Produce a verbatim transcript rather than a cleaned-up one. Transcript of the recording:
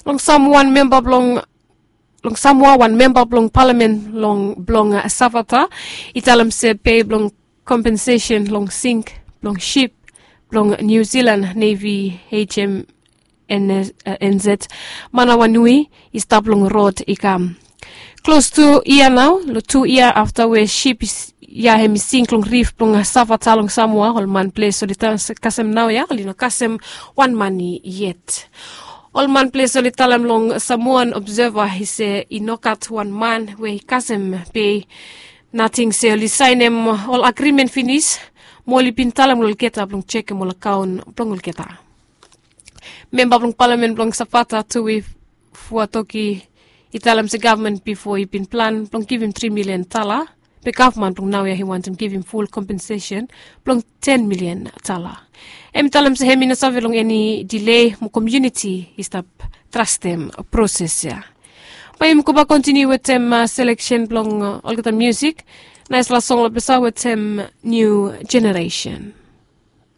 Long sam wan memba blong long samua wan memba blong palamen long blong safata i talem se pei blong kompensesen long sink blong sip blong niu silan nevi hm nz manawanui i stap long rod i kam. Klos tu yia nao long tu yia afta we sip ya hem i sink long rif blong safata long samua ol man ples oli tan kasem nao ya oli no kasem wan mani yet. Ol man ples oli talem long samoan obseva i se i no gat wan man we i kasem pe nating se oli saenem ol agrimen finis. Mo oli bin talem long olgeta blong jekem ol akaon blong olgeta. Memba blong palamen blong safata tu i fuatoki i talem se gavman bifo i bin plan blong givim tri milian tala. Be gavman blong naoia i wantem givim ful kompensesen blong ten milian tala. Hem i talem se hem i no save long eni dilei mo komiuniti i stap trastem proses ya. Bae yumi gobak kontiniu wetem seleksen blong olgeta miusik. Naesfala song long pesa wetem niu jeneresen.